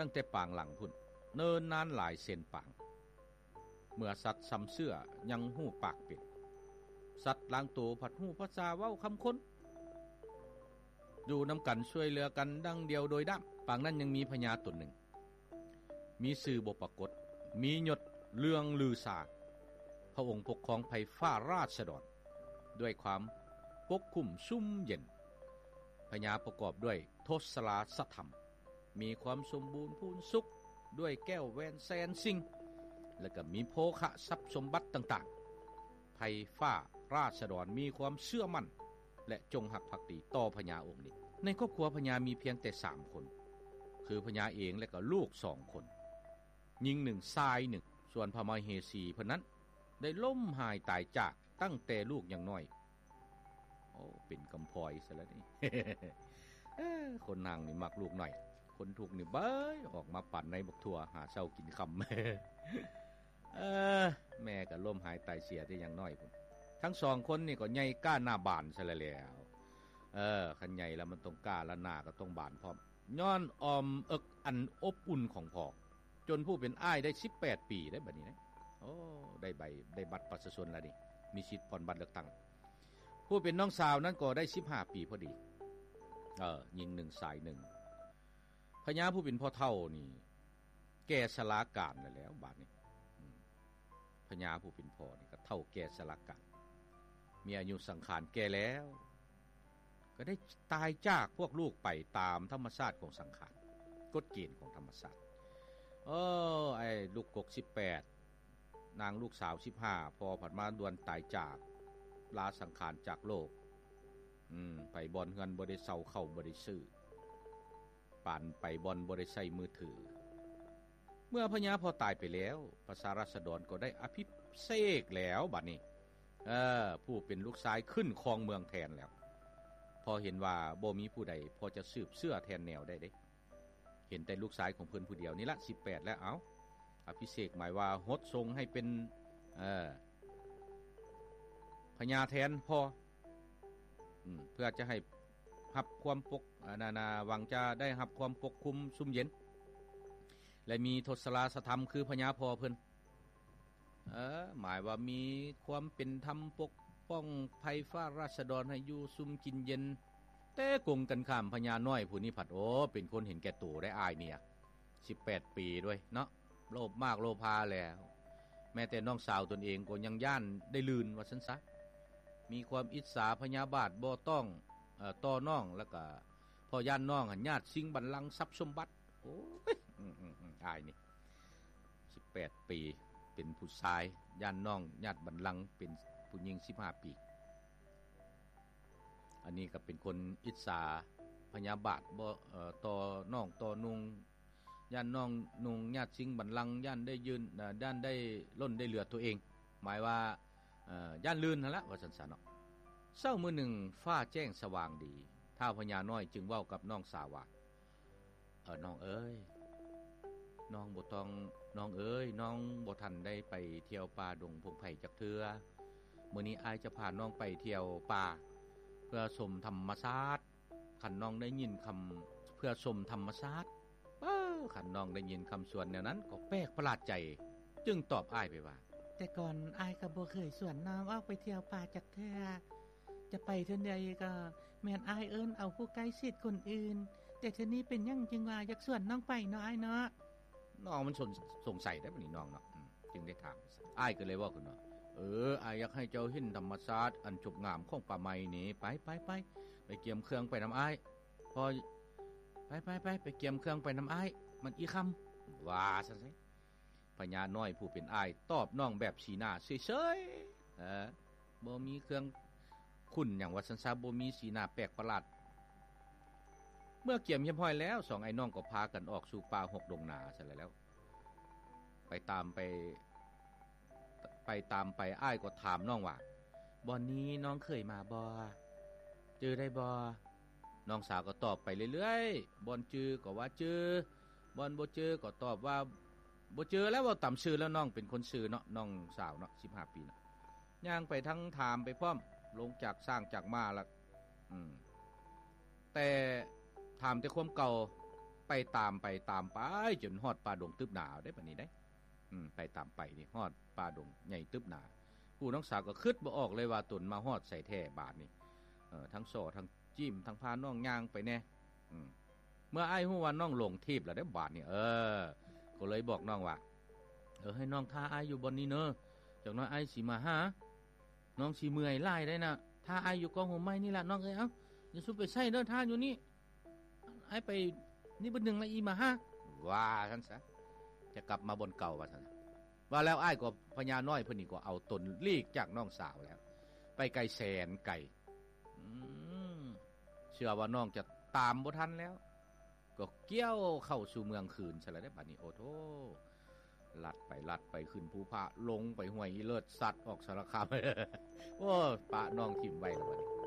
ຕັ້ງແຕ່ປາງຫຼັງພຸ້ນ ເນີນນານຫຼາຍເຊັ່ນປາງ. ເມື່ອສັດຊ່ຳເຊື້ອຍັງຮູ້ປາກເປັນ, ສັດລາງໂຕພັດຮູ້ພາສາເວົ້າຄຳຄົນ. ຢູ່ນຳກັນຊ່ວຍເຫຼືອກັນດັ່ງດຽວໂດຍດ້າມ. ປາງນັ້ນຍັງມີພະຍາຕົນໜຶ່ງ ມີຊື່ບໍ່ປາກົດ, ມີຍົດເລື່ອງລືຊາ. ພະອົງປົກຄອງໄພຟ້າລາຊະດອນດ້ວຍຄວາມປົກຄຸມຊຸ່ມເຢັນ. ພະຍາປະກອບດ້ວຍທົດສະລາສະທຳ, ມີຄວາມສົມບູນພູນສຸກດ້ວຍແກ້ວແຫວນແສນສິ່ງ ແລະກໍມີໂພຄະຊັບສົມບັດຕ່າງໆ. ໄພຟ້າລາຊະດອນມີຄວາມເຊື່ອໝັ້ນ ແລະ ຈົງຮັກພັກດີຕໍ່ພະຍາອົງນີ້. ໃນຄອບຄົວພະຍາມີພຽງແຕ່ສາມຄົນ ຄືພະຍາເອງ ແລະກໍລູກສອງຄົນ, ຍິງໜຶ່ງ ຊາຍໜຶ່ງ. ສ່ວນພະມະເຫສີເພິ່ນນັ້ນ ໄດ້ລົ້ມຫາຍຕາຍຈາກຕັ້ງແຕ່ລູກຍັງນ້ອຍ. ໂອ້ ເປັນກຳພ້ອຍຊະແລ້ວນີ້. ເອີ ຄົນຮັ່ງນີ້ມັກລູກນ້ອຍ, ຄົນທຸກນີ້ເບີຍອອກມາປັນໃນບັກຖົ່ວຫາເຊົ້າກິນຄ່ຳ. ເອີ ແມ່ກໍລົ້ມຫາຍຕາຍເສຍແຕ່ຍັງນ້ອຍພຸ້ນ. ທັງສອງຄົນນີ້ກໍໃຫຍ່ກ້າໜ້າບານຊະແລ້ວ. ເອີ ຄັນໃຫຍ່ແລ້ວມັນຕ້ອງກ້າ ແລະ ໜ້າກໍຕ້ອງບານພ້ອມ. ຍ້ອນອ້ອມເອິກອັນອົບອຸ່ນຂອງພໍ່, ຈົນຜູ້ເປັນອ້າຍໄດ້ສິບແປດປີໄດ໋ບັດນີ້ນະ. ໂອ້ ໄດ້ໃບ ໄດ້ບັດປະຊາຊົນແລ້ວນີ້, ມີສິດຜ່ອນບັດເລືອກຕັ້ງ. ຜູ້ເປັນນ້ອງສາວນັ້ນກໍໄດ້ສິບຫ້າປີພໍດີ. ເອີ ຍິງໜຶ່ງ ຊາຍໜຶ່ງ. ພະຍາຜູ້ເປັນພໍ່ເຖົ້ານີ້ແກ່ຊະລາການແລ້ວ ບາດນີ້. ອືມ ພະຍາຜູ້ເປັນພໍ່ນີ້ກໍເຖົ້າແກ່ຊະລາການ, ມີອາຍຸສັງຂານແກ່ແລ້ວ, ກໍໄດ້ຕາຍຈາກພວກລູກໄປຕາມທຳມະຊາດຂອງສັງຂານ, ກົດເກນຂອງທຳມະຊາດ. ເອີ ໄອ້ລູກກົກສິບແປດ, ນາງລູກສາວສິບຫ້າ, ພໍ່ພັດມາດ່ວນຕາຍຈາກ, ລາສັງຂານຈາກໂລກ. ອືມ ໄປບ່ອນເຮືອນບໍ່ໄດ້ເຊົ່າ, ເຂົ້າບໍ່ໄດ້ຊື້. ປານໄປບ່ອນບໍ່ໄດ້ໃຊ້ມືຖື. ເມື່ອພະຍາພໍ່ຕາຍໄປແລ້ວ, ປະຊາລາຊະດອນກໍໄດ້ອະພິເສກແລ້ວບັດນີ້. ເອີ ຜູ້ເປັນລູກຊາຍຂຶ້ນຄອງເມືອງແທນແລ້ວ. ເພາະເຫັນວ່າບໍ່ມີຜູ້ໃດພໍຈະສືບເຊື້ອແທນແນວໄດ້ເດ້. ເຫັນແຕ່ລູກຊາຍຂອງເພິ່ນຜູ້ດຽວນີ້ລະ ສິບແປດແລ້ວ. ເອົາ ອະພິເສກໝາຍວ່າຫົດຊົງໃຫ້ເປັນ ເອີ ພະຍາແທນພໍ່. ອືມ ເພື່ອຈະໃຫ້ຮັບຄວາມປົກ ອັນນັ້ນນະ ຫວັງຈະໄດ້ຮັບຄວາມປົກຄຸມຊຸ່ມເຢັນ ແລະ ມີທົດສະລາຊະທຳຄືພະຍາພໍ່ເພິ່ນ. ເອີ ໝາຍວ່າມີຄວາມເປັນທຳປົກປ້ອງໄພຟ້າລາຊະດອນໃຫ້ຢູ່ຊຸ່ມກິນເຢັນ. ແຕ່ກົງກັນຂ້າມ ພະຍານ້ອຍຜູ້ນີ້ພັດ ໂອ້ ເປັນຄົນເຫັນແກ່ໂຕໄດ໋ ອ້າຍເມຍ ສິບແປດປີດ້ວຍເນາະ. ໂລບມາກໂລພາແລ້ວ, ແມ້ແຕ່ນ້ອງສາວຕົນເອງກໍຍັງຢ້ານໄດ້ລື່ນວ່າຊັ້ນຊະ. ມີຄວາມອິດສາພະຍາບາດບໍ່ຕ້ອງ ເອີ ຕໍ່ນ້ອງ, ແລ້ວກະເພາະຢ້ານນ້ອງຫັ້ນຍາດຊິງບັນລັງຊັບສົມບັດ. ໂອ້ຍ ອືມໆໆ ອ້າຍນີ້ ສິບແປດປີ ເປັນຜູ້ຊາຍ, ຢ້ານນ້ອງຍາດບັນລັງເປັນຜູ້ຍິງສິບຫ້າປີ. ອັນນີ້ກໍເປັນຄົນອິດສາພະຍາບາດບໍ່ ເອີ ຕໍ່ນ້ອງຕໍ່ນຸ່ງ, ຢ້ານນ້ອງນຸ່ງຍາດຊິງບັນລັງ, ຢ້ານໄດ້ຢືນ ເອີ ຢ້ານໄດ້ລົ້ນໄດ້ເຫຼືອຕົວເອງ, ໝາຍວ່າ ເອີ ຢ້ານລື່ນຫັ້ນລະ ວ່າຊັ້ນຊະເນາະ. ເຊົ້າມື້ໜຶ່ງຟ້າແຈ້ງສະຫວ່າງດີ, ທ້າວພະຍານ້ອຍຈຶ່ງເວົ້າກັບນ້ອງສາວວ່າ ເອີ ນ້ອງເອີຍ ນ້ອງບໍ່ຕ້ອງ ນ້ອງເອີຍ ນ້ອງບໍ່ທັນໄດ້ໄປທ່ຽວປ່າດົງພົງໄພຈັກເທື່ອ. ມື້ນີ້ອ້າຍຈະພານ້ອງໄປທ່ຽວປ່າ ເພື່ອຊົມທຳມະຊາດ. ຄັນນ້ອງໄດ້ຍິນຄຳ ເພື່ອຊົມທຳມະຊາດ. ເອີ ຄັນນ້ອງໄດ້ຍິນຄຳຊວນແນວນັ້ນກໍແປກປະຫຼາດໃຈ, ຈຶ່ງຕອບອ້າຍໄປວ່າ ແຕ່ກ່ອນອ້າຍກໍບໍ່ເຄີຍຊວນນ້ອງອອກໄປທ່ຽວປ່າຈັກເທື່ອ. ຈະໄປເທື່ອໃດກໍແມ່ນອ້າຍເອີ້ນເອົາຜູ້ໃກ້ຊິດຄົນອື່ນ, ແຕ່ເທື່ອນີ້ເປັນຫຍັງຈຶ່ງວ່າຢາກຊວນນ້ອງໄປເນາະອ້າຍເນາະ? ນ້ອງມັນສົງ ສົງໄສໄດ໋ບັດນີ້ນ້ອງເນາະ, ອືມ ຈຶ່ງໄດ້ຖາມ. ອ້າຍກໍເລີຍເວົ້າຂຶ້ນວ່າ ເອີ ອ້າຍຢາກໃຫ້ເຈົ້າເຫັນທຳມະຊາດອັນສົບງາມຂອງປ່າໄມ້ນີ້, ໄປ ໄປ ໄປ ໄປກຽມເຄື່ອງໄປນຳອ້າຍ. ພໍ ໄປ ໄປ ໄປ ໄປກຽມເຄື່ອງໄປນຳອ້າຍ, ມັນອີ່ຄ່ຳ ວ່າຊັ້ນໄດ໋. ພະຍານ້ອຍຜູ້ເປັນອ້າຍຕອບນ້ອງແບບສີໜ້າເສີຍໆ ເອີ ບໍ່ມີເຄື່ອງຂຸ້ນຫຍັງວ່າຊັ້ນຊະ, ບໍ່ມີສີໜ້າແປກປະຫຼາດ. ເມື່ອກຽມຮຽບຮ້ອຍແລ້ວ, ສອງອ້າຍນ້ອງກໍພາກັນອອກສູ່ປ່າຮົກດົງນາຊັ້ນແຫຼະ. ແລ້ວໄປຕາມໄປ ໄປຕາມໄປ, ອ້າຍກໍຖາມນ້ອງວ່າ ບ່ອນນີ້ນ້ອງເຄີຍມາບໍ່? ຈື່ໄດ້ບໍ່? ນ້ອງສາວກໍຕອບໄປເລື້ອຍໆ, ບ່ອນຈື່ກໍວ່າຈື່, ບ່ອນບໍ່ຈື່ກໍຕອບວ່າບໍ່ຈື່. ແລ້ວເວົ້າຕາມຊື່ແລ້ວ, ນ້ອງເປັນຄົນຊື່ເນາະ, ນ້ອງສາວເນາະ ສິບຫ້າປີເນາະ. ຍ່າງໄປທັງຖາມໄປພ້ອມ, ລົງຈາກຊ້າງຈາກມ້າລະ ອືມ ແຕ່ຖາມແຕ່ຄວາມເກົ່າ, ໄປຕາມໄປຕາມໄປ ຈົນຮອດປ່າດົງຕຶບໜາເດ້ ບາດນີ້ເດ້. ອືມ ໄປຕາມໄປນີ້ຮອດປ່າດົງໃຫຍ່ຕຶບໜາ. ຜູ້ນ້ອງສາວກໍຄິດບໍ່ອອກເລີຍວ່າຕົນມາຮອດໃສແທ້ບາດນີ້. ເອີ ທັງສໍ້ທັງຈີ້ມ ທັງພານ້ອງຍ່າງໄປແດ່. ອືມ ເມື່ອອ້າຍຮູ້ວ່ານ້ອງຫຼົງທີບແລ້ວເດ້ບາດນີ້ ເອີ ກໍເລີຍບອກນ້ອງວ່າ ເອີ ໃຫ້ນ້ອງຖ້າອ້າຍຢູ່ບ່ອນນີ້ເນີ ຈັກໜ້ອຍອ້າຍຊິມາຫາ. ນ້ອງຊິເມື່ອຍຫຼາຍໄດ໋ນະ ຖ້າອ້າຍຢູ່ກອງຫົວໄມ້ນີ້ລະນ້ອງເອີຍ. ເອົ້າ ຢ່າສູ່ໄປໃສເດີ ຖ້າຢູ່ນີ້ ອ້າຍໄປນີ້ບຶດໜຶ່ງລະອີ່ມາຫາ ວ່າຊັ້ນຊະ ຈະກັບມາບ່ອນເກົ່າວ່າຊັ້ນ. ວ່າແລ້ວອ້າຍກໍ ພະຍານ້ອຍເພິ່ນນີ້ກໍເອົາຕົນຫຼີກຈາກນ້ອງສາວແລ້ວ ໄປໄກແສນໄກ. ອືມ ເຊື່ອວ່ານ້ອງຈະຕາມບໍ່ທັນແລ້ວ ກໍກ່ຽວເຂົ້າສູ່ເມືອງຄືນຊະລະເດ້ບາດນີ້. ໂອ້ໂທ ລັດໄປລັດໄປ ຂຶ້ນພູຜາ ລົງໄປຫ້ວຍອີເລີດ ສັດອອກສາລະຄາມ. ໂອ້ ປະນ້ອງຖິ້ມໄວ້ລະບາດນີ້.